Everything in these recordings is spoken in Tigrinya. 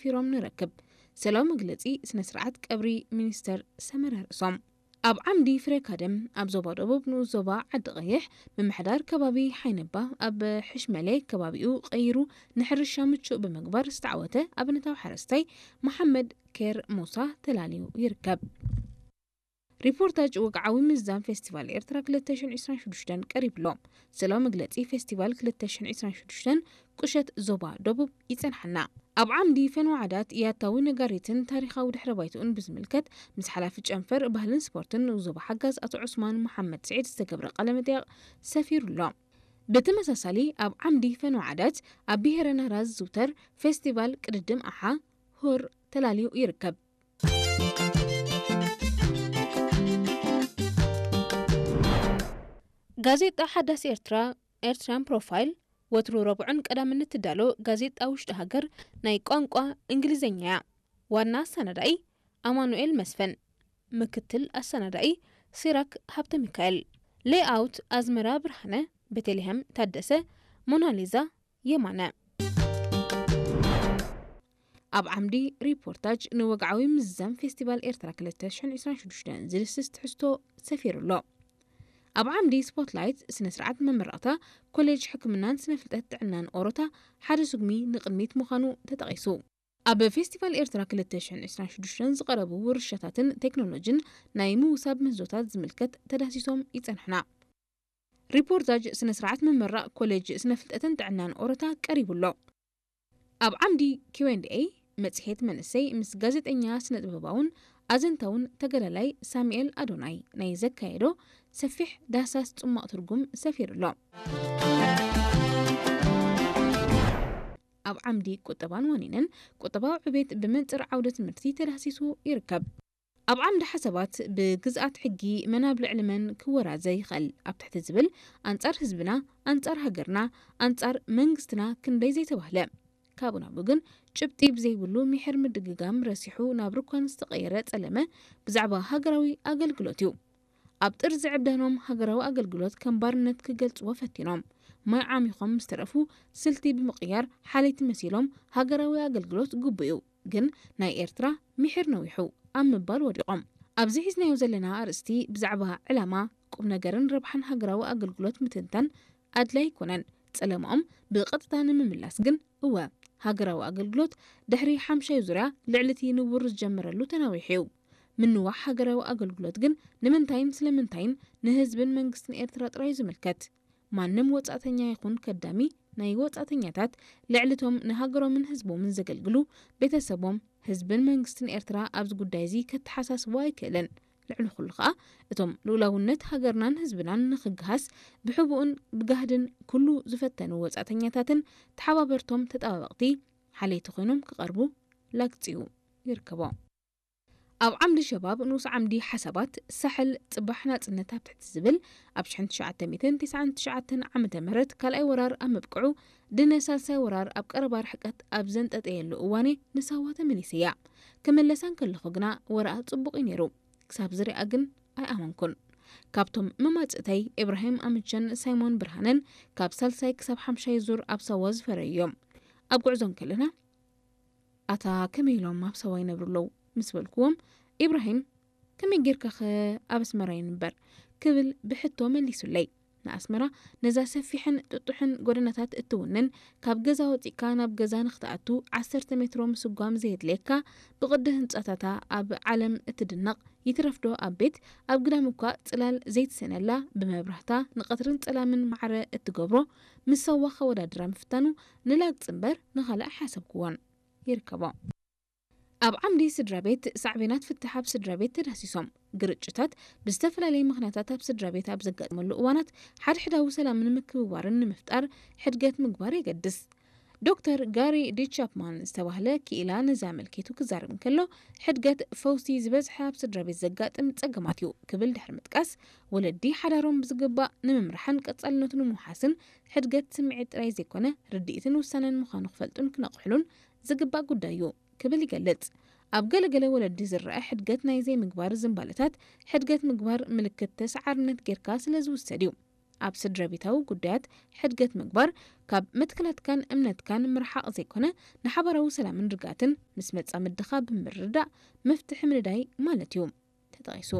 ፊሮም ንረክብ። ሰላም መግለጺ ስነ ስርዓት ቀብሪ ሚኒስተር ሰመረ ርእሶም። ኣብ ዓምዲ ፍሬ ካደም ኣብ ዞባ ደቡብ ንኡስ ዞባ ዓዲ ቀይሕ ምምሕዳር ከባቢ ሓይነባ ኣብ ሕሽመሌ ከባቢኡ ቀይሩ ንሕርሻ ምቹእ ብምግባር ዝተዓወተ ኣብነታዊ ሓረስታይ መሓመድ ኬር ሙሳ ተላልዩ ይርከብ። ሪፖርታጅ ወግዓዊ ምዝዛም ፌስቲቫል ኤርትራ ክልተ ሽሕን ዕስራን ሽዱሽተን ቀሪብሎ። ስለ መግለጺ ፌስቲቫል ክልተ ሽሕን ዕስራን ሽዱሽተን ቁሸት ዞባ ደቡብ ይጸንሓና። ኣብ ዓምዲ ፈንዋ ዓዳት ያታዊ ነጋሪትን ታሪኻዊ ድሕረ ባይትኡን ብዝምልከት ምስ ሓላፊ ጨንፈር ባህልን ስፖርትን ንዞባ ሓጋዝ ኣቶ ዑስማን መሓመድ ስዒድ ዝተገብረ ቃለ መጠይቕ ሰፊሩ ኣሎ። ብተመሳሳሊ ኣብ ዓምዲ ፈንዋ ዓዳት ኣብ ብሄረ ናራ ዝዝውተር ፌስቲቫል ቅድድም ኣሓ ሆር ተላልዩ ይርከብ። ጋዜጣ ሓዳስ ኤርትራ ኤርትራን ፕሮፋይል ወትሩ ረቡዕን ቀዳምን እትዳሎ ጋዜጣ ውሽጢ ሃገር ናይ ቋንቋ እንግሊዝኛ እያ። ዋና ኣሰናዳኢ ኣማኑኤል መስፍን፣ ምክትል ኣሰናዳኢ ሲራክ ሃብተ ሚካኤል፣ ሌይኣውት ኣዝመራ ብርሃነ፣ ቤተልሔም ታደሰ፣ ሞናሊዛ የማነ። ኣብ ዓምዲ ሪፖርታጅ ንወግዓዊ ምዝዛም ፌስቲቫል ኤርትራ ክልተ ሽሕን ዕስራን ሽዱሽተን ዝድስስ ትሕዝቶ ሰፊሩ ኣሎ። ኣብ ዓምዲ ስፖትላይት ስነ ስርዓት መመረቕታ ኮሌጅ ሕክምናን ስነ ፍልጠት ጥዕናን ኦሮታ ሓደ ስጉሚ ንቕድሚት ምዃኑ ተጠቒሱ። ኣብ ፌስቲቫል ኤርትራ ክልተ ሽሕን ዕስራን ሽዱሽተን ዝቐረቡ ውርሻታትን ቴክኖሎጂን ናይ ምውሳብ ምህዞታት ዝምልከት ተዳሲሶም ይጸንሑና። ሪፖርታጅ ስነ ስርዓት ምምራቕ ኮሌጅ ስነ ፍልጠትን ጥዕናን ኦሮታ ቀሪቡ ኣሎ። ኣብ ዓምዲ ኪው ኤንድ ኤ መጽሔት መንእሰይ ምስ ጋዜጠኛ ስነ ጥበባውን ኣዘንታውን ተጋዳላይ ሳሙኤል ኣዶናይ ናይ ዘካየዶ ሰፊሕ ዳህሳስ ጽማቕ ትርጉም ሰፊሩ ኣሎ። ኣብ ዓምዲ ቁጠባን ዋኒንን ቁጠባዊ ዕቤት ብመንጽር ዓውደ ትምህርቲ ተዳህሲሱ ይርከብ። ኣብ ዓምዲ ሓሳባት ብግዝኣት ሕጊ መን ኣብ ልዕሊ መን ክወራዘ ይኽእል ኣብ ትሕቲ ዝብል ኣንጻር ህዝብና፣ ኣንጻር ሃገርና፣ ኣንጻር መንግስትና ክንደይ ዘይተባህለ። ካብኡ ናብኡ ግን ጭብጢ ብዘይብሉ ሚሕር ምድግጋም ረሲሑ ናብ ርኳን ዝተቐየረ ጸለመ ብዛዕባ ሃገራዊ ኣገልግሎት እዩ። ኣብ ጥርዚ ዕብዳኖም ሃገራዊ ኣገልግሎት ከም ባርነት ክገልጽዎ ፈቲኖም። ማይ ዓሚኾም ምስ ተረፉ ስልቲ ብምቕያር ሓለይቲ መሲሎም ሃገራዊ ኣገልግሎት ግቡእ እዩ፣ ግን ናይ ኤርትራ ሚሒር ነዊሑ ኣብ ምባል ወዲቖም። ኣብዚ ሒዝናዮ ዘለና ኣርእስቲ ብዛዕባ ዕላማ፣ ቁም ነገርን ረብሓን ሃገራዊ ኣገልግሎት ምትንታን ኣድላይ ኣይኮነን። ጸለማኦም ብቐጥታ ንምምላስ ግን እወ፣ ሃገራዊ ኣገልግሎት ድሕሪ ሓምሻይ ዙርያ ልዕሊ እቲ ንቡር ዝጀመረሉ ተናዊሑ እዩ። ምንዋሕ ሃገራዊ ኣገልግሎት ግን ንምንታይን ስለምንታይን ንህዝብን መንግስትን ኤርትራ ጥራይ እዩ ዝምልከት። ማንም ወጻእተኛ ይኹን ከዳሚ ናይ ወጻእተኛታት ልዕሊ እቶም ንሃገሮምን ህዝቦምን ዘገልግሉ ቤተሰቦም፣ ህዝብን መንግስትን ኤርትራ ኣብዚ ጉዳይ እዚ ከተሓሳስቦ ኣይክእልን። ልዕሊ ኩሉ ከኣ እቶም ልኡላውነት ሃገርናን ህዝብናን ንኽግሃስ ብሕቡእን ብጋህድን ኩሉ ዝፈተኑ ወጻእተኛታትን ተሓባበርቶም ተጣባበቕቲ ሓለይቲ ኮይኖም ክቐርቡ ላግጺኡ ይርከቦ። ኣብ ዓምዲ ሸባብ ንኡስ ዓምዲ ሓሳባት ሳሕል ጽባሕ ናጽነት ኣብ ትሕቲ ዝብል ኣብ ሽሕን ትሽዓተ ሚእትን ተስዓን ትሽዓተን ዓመተ ምህረት ካልኣይ ወራር ኣብ ምብቅዑ ድነ ሳልሳይ ወራር ኣብ ቀረባ ርሕቀት ኣብ ዘንጠጠየሉ እዋኔ ንሳዋ ተመሊሰያ። ክምለሳ እንከለኹ ግና ወረኣ ጽቡቕ እዩ ነይሩ። ክሳብ ዝሪኣ ግን ኣይኣመንኩን። ካብቶም መማጽእተይ ኢብራሂም ኣምቸን ሳይሞን ብርሃነን ካብ ሳልሳይ ክሳብ ሓምሻይ ዙር ኣብ ሳዋ ዝፈረዩ እዮም። ኣብ ጉዕዞ እንከለና ኣታ ከመይ ኢሎም ኣብ ሳዋ ይነብሩ ኣለዉ ምስ በልክዎም፣ ኢብራሂም ከመይ ጌርካኸ ኣብ ኣስመራ ይንበር ክብል ብሕቶ መሊሱለይ። ንኣስመራ ነዛ ሰፊሕን ጥጡሕን ጎደናታት እትውንን ካብ ገዛ ወጺእካ ናብ ገዛ ንኽትኣቱ ዓሰርተ ሜትሮ ምስጓም ዘየድልየካ ብቕዲ ህንጻታታ ኣብ ዓለም እትድነቕ ይትረፍዶ ኣብ ቤት ኣብ ግዳም እኳ ጽላል ዘይትስእነላ ብመብራህታ ንቐትርን ጸላምን ማዕረ እትገብሮ ምስ ሳዋ ከወዳድራ ምፍታኑ ንላግጺ እምበር ንኻልእ ኣይሓሰብክዎን። ይርከቦ። ኣብ ዓምዲ ስድራ ቤት ሳዕቤናት ፍትሕ ኣብ ስድራ ቤት ተዳህሲሶም። ግርጭታት ብዝተፈላለየ ምኽንያታት ኣብ ስድራ ቤት ኣብ ዘጋጥመሉ እዋናት ሓድሕዳዊ ሰላምን ምክብባርን ንምፍጣር ሕድገት ምግባር የገድስ። ዶክተር ጋሪ ዲ ቻፕማን ዝተባህለ ክኢላ ነዚ ኣመልኪቱ ክዛረብ እንከሎ ሕድገት ፈውሲ ዝበዝሐ ኣብ ስድራ ቤት ዘጋጥም ጸገማት እዩ ክብል ድሕሪ ምጥቃስ ወለዲ ሓዳሮም ብዝግባእ ንምምራሕን ቀጻልነቱ ንምውሓስን ሕድገት ስምዒት ጥራይ ዘይኮነ ርድኢትን ውሳነን ምዃኑ ክፈልጡን ክነቕሕሉን ዝግባእ ጉዳይ እዩ ክብል ይገልጽ። ኣብ ገለገለ ወለዲ ዝረኣ ሕድገት ናይ ዘይምግባር ዝንባለታት ሕድገት ምግባር ምልክት ተሰዓርነት ጌርካ ስለ ዝውሰድ እዩ። ኣብ ስድራቤታዊ ጉዳያት ሕድገት ምግባር፣ ካብ መትከላትካን እምነትካን ምርሓቕ ዘይኮነ፣ ንሓባራዊ ሰላምን ርግኣትን ምስ መጻምድኻ ብምርድዳእ መፍትሒ ምንዳይ ማለት እዩ ተጠቒሱ።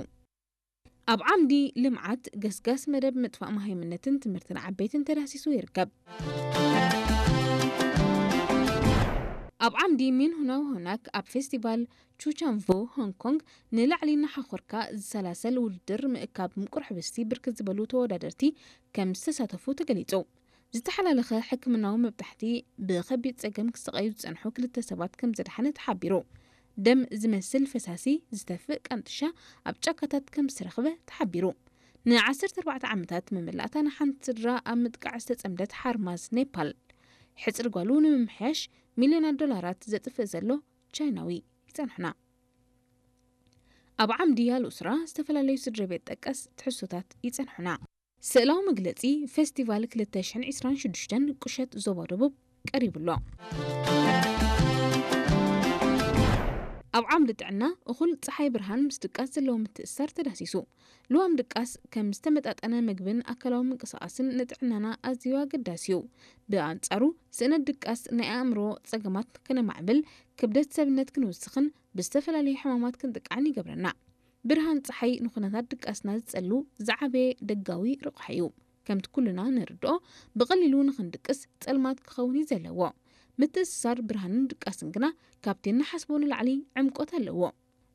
ኣብ ዓምዲ ልምዓት፣ ገስጋስ መደብ ምጥፋእ መሃይምነትን ትምህርትን ዓበይትን ተዳህሲሱ ይርከብ። ኣብ ዓምዲ ሚንሁና ሆናክ ኣብ ፌስቲቫል ቹቻንቮ ሆንግ ኮንግ ንላዕሊ እናሓኾርካ ዝሰላሰል ውድድር ምእካብ ምቁር ሕብስቲ ብርክት ዝበሉ ተወዳደርቲ ከም ዝተሳተፉ ተገሊጹ። ዝተሓላለኸ ሕክምናዊ መብጣሕቲ ብኸቢድ ጸገም ክስቓዩ ዝጸንሑ ክልተ ሰባት ከም ዘድሓነ ተሓቢሩ። ደም ዝመስል ፈሳሲ ዝተፍእ ቃንጥሻ ኣብ ጫካታት ከም ዝተረኽበ ተሓቢሩ። ን14 ዓመታት መመላእታ ንሓንቲ ስድራ ኣብ ምጥቃዕ ዝተጸምደት ሓርማዝ ኔፓል፣ ሕጽሪ ጓሉ ንምምሕያሽ ሚልዮናት ዶላራት ዘጥፍእ ዘሎ ቻይናዊ ይጸንሑና። ኣብ ዓምዲ ኣልኡስራ ዝተፈላለዩ ስድራ ቤት ጠቀስ ትሕዝቶታት ይጸንሑና። ስእላዊ መግለጺ ፌስቲቫል ክልተ ሽሕን ዕስራን ሽዱሽተን ቁሸት ዞባ ደቡብ ቀሪቡ ኣሎ። ኣብ ዓምዲ ጥዕና፣ እኹል ጸሓይ ብርሃን ምስ ድቃስ ዘለዎ ምትእስሳር ተዳህሲሱ። ልዋም ድቃስ ከም ዝተመጣጠነ ምግብን ኣካላዊ ምንቅስቓስን ንጥዕናና ኣዝዩ ኣገዳሲ እዩ። ብኣንጻሩ፣ ስእነት ድቃስ ናይ ኣእምሮ ጸገማት ከነማዕብል፣ ክብደት ሰብነት ክንውስኽን ብዝተፈላለዩ ሕማማት ክንጥቃዕን ይገብረና። ብርሃን ጸሓይ ንኹነታት ድቃስና ዝጸሉ ዝዓበየ ደጋዊ ረቑሓ እዩ። ከምቲ ኩልና ንርድኦ፣ ብቐሊሉ ንኽንድቅስ ጸልማት ክኸውን እዩ ዘለዎ። ምትእስሳር ብርሃንን ድቃስን ግና ካብቲ እንሓስቦ ንላዕሊ ዕምቆት ኣለዎ።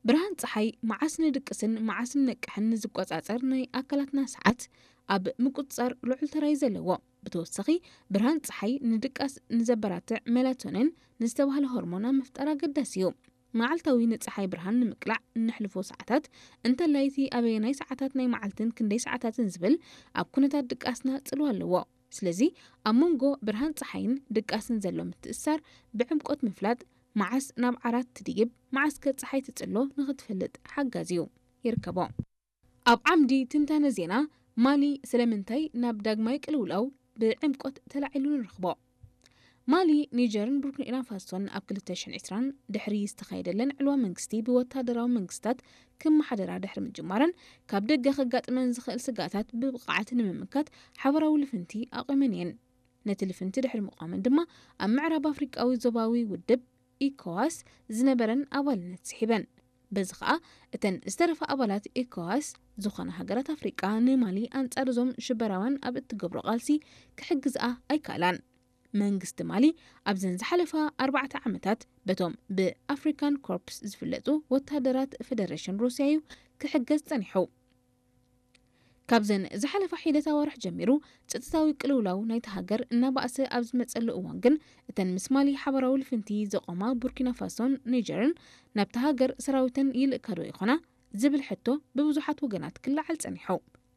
ብርሃን ጸሓይ መዓስ ንድቅስን መዓስ ንነቅሕን ንዝቆጻጸር ናይ ኣካላትና ሰዓት ኣብ ምቁጽጻር ልዑል ተራ እዩ ዘለዎ። ብተወሳኺ፣ ብርሃን ጸሓይ ንድቃስ ንዘበራትዕ ሜላቶኒን ንዝተባህለ ሆርሞን ኣብ ምፍጣር ኣገዳሲ እዩ። መዓልታዊ ንጸሓይ ብርሃን ንምቅላዕ እነሕልፎ ሰዓታት፣ እንተላይ እቲ ኣበየናይ ሰዓታት ናይ መዓልትን ክንደይ ሰዓታትን ዝብል ኣብ ኩነታት ድቃስና ጽልዋ ኣለዎ። ስለዚ ኣብ መንጎ ብርሃን ጸሓይን ድቃስን ዘሎ ምትእስሳር ብዕምቆት ምፍላጥ፣ መዓስ ናብ ዓራት ትድይብ፣ መዓስከ ጸሓይ ትጽሎ ንኽትፈልጥ ሓጋዚ እዩ። ይርከቦ። ኣብ ዓምዲ ትንታነ ዜና፣ ማሊ ስለምንታይ ናብ ዳግማይ ቅልውላው ብዕምቆት ተላዒሉ ንረኽቦ። ማሊ፣ ኒጀርን ቡርኪና ፋሶን ኣብ ክልተ ሽሕን ዕስራን ድሕሪ ዝተኻየደለን ዕልዋ መንግስቲ ብወታደራዊ መንግስታት ክመሓደራ ድሕሪ ምጅማረን፣ ካብ ደገ ከጋጥመን ዝኽእል ስግኣታት ብብቕዓት ንምምካት ሓበራዊ ልፍንቲ ኣቑመን እየን። ነቲ ልፍንቲ ድሕሪ ምቋመን ድማ፣ ኣብ ምዕራብ ኣፍሪቃዊ ዞባዊ ውድብ ኢኮዋስ ዝነበረን ኣባልነት ስሒበን። በዚ ኸኣ፣ እተን ዝተረፋ ኣባላት ኢኮዋስ ዝኾና ሃገራት ኣፍሪቃ ንማሊ ኣንጻር እዞም ሽበራውያን ኣብ እትገብሮ ቃልሲ ክሕግዝኣ ኣይከኣላን። መንግስቲ ማሊ ኣብዘን ዝሓለፋ ኣርባዕተ ዓመታት በቶም ብኣፍሪካን ኮርፕስ ዝፍለጡ ወታደራት ፌደሬሽን ሩስያ እዩ ክሕገዝ ጸኒሑ። ካብዘን ዝሓለፋ ሒደት ኣዋርሕ ጀሚሩ፣ ጸጥታዊ ቅልውላው ናይታ ሃገር እናባእሰ ኣብ ዝመጸሉ እዋን ግን፣ እተን ምስ ማሊ ሓበራዊ ልፍንቲ ዘቆማ ቡርኪና ፋሶን ኒጀርን ናብታ ሃገር ሰራዊተን ይልእካ ዶ ይኾና ዝብል ሕቶ ብብዙሓት ወገናት ክለዓል ጸኒሑ።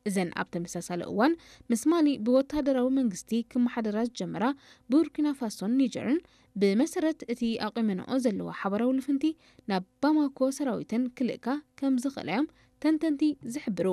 እዘን ኣብ ተመሳሳሊ እዋን ምስ ማሊ ብወታደራዊ መንግስቲ ክመሓደራ ዝጀመራ ቡርኪና ፋሶን ኒጀርን፣ ብመሰረት እቲ ኣቑመንኦ ዘለዋ ሓበራዊ ልፍንቲ፣ ናብ ባማኮ ሰራዊተን ክልእካ ከም ዝኽእላ እዮም ተንተንቲ ዝሕብሩ።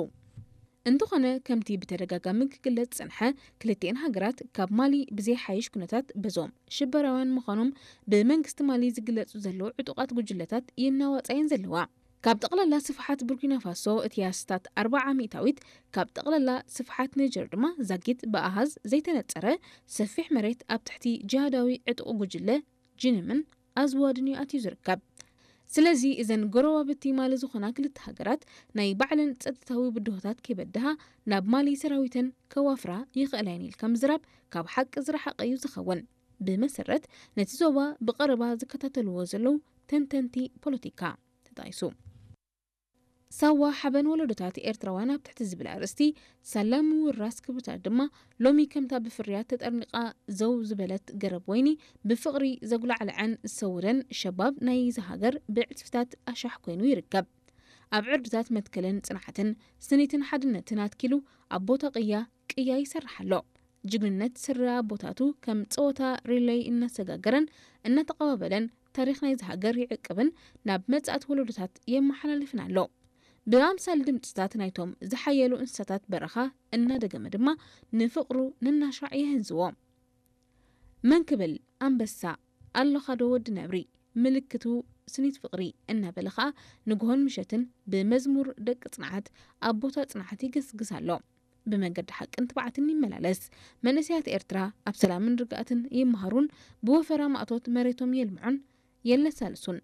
እንተኾነ፣ ከምቲ ብተደጋጋሚ ክግለጽ ዝጸንሐ፣ ክልቲኤን ሃገራት ካብ ማሊ ብዘይሓይሽ ኩነታት በዞም ሽበራውያን ምዃኖም ብመንግስቲ ማሊ ዝግለጹ ዘለዉ ዕጡቓት ጉጅለታት ይናዋጻ እየን ዘለዋ። ካብ ጠቕላላ ስፍሓት ቡርኪና ፋሶ እቲ ኣስታት ኣርብዓ ሚእታዊት፣ ካብ ጠቕላላ ስፍሓት ኒጀር ድማ ዛጊት ብኣሃዝ ዘይተነጸረ ሰፊሕ መሬት ኣብ ትሕቲ ጂሃዳዊ ዕጡቕ ጉጅለ ጂኒምን ኣዝዋድን እዩ ኣትዩ ዝርከብ። ስለዚ እዘን ጎረባብቲ ማሊ ዝኾና ክልተ ሃገራት ናይ ባዕለን ጸጥታዊ ብድሆታት ከይበድሃ ናብ ማሊ ሰራዊተን ከዋፍራ ይኽእላ እየን ኢልካ ምዝራብ ካብ ሓቂ ዝረሓቐ እዩ ዝኸውን። ብመሰረት ነቲ ዞባ ብቐረባ ዝከታተልዎ ዘለዉ ተንተንቲ ፖለቲካ ተጣይሱ። ሳዋ ሓበን ወለዶታት ኤርትራውያን ኣብ ትሕቲ ዝብል ኣርእስቲ፣ ሳላ ምውራስ ክብርታት ድማ፣ ሎሚ ከምታ ብፍርያት ተጠርኒቓ ዘው ዝበለት ገረብ ወይኒ፣ ብፍቕሪ ዘጉላዕልዐን ዝሰውደን ሸባብ ናይዚ ሃገር ብዕጽፍታት ኣሻሕ ኮይኑ ይርከብ። ኣብ ዕርድታት መትከልን ጽንዓትን፣ ስኒትን ሓድነትን ኣትኪሉ ኣብ ቦታ ቅያ ቅያ ይሰርሕ ኣሎ። ጅግንነት ስረ ኣቦታቱ ከም ጸወታ ሪለይ እናሰጋገረን እናተቐባበለን ታሪኽ ናይዚ ሃገር ይዕቅብን ናብ መጻእቲ ወለዶታት የመሓላልፍን ኣሎ። ብኣምሳል ድምጽታት ናይቶም ዝሓየሉ እንስሳታት በረኻ እናደገመ ድማ ንፍቕሩ ነናሻዕ የህንዝዎ። መን ክብል ኣንበሳ ኣለኻ ዶ ወዲ ነብሪ፣ ምልክቱ ስኒት ፍቕሪ እናበለ ኸኣ ንግሆን ምሸትን ብመዝሙር ደቂ ጽንዓት ኣብ ቦታ ጽንዓት ይግስግስ ኣሎ። ብመንገዲ ሓቅን ትብዓትን ይመላለስ። መንእሰያት ኤርትራ ኣብ ሰላምን ርግኣትን ይመሃሩን ብወፈራ ማእቶት መሬቶም የልምዑን የለሳልሱን።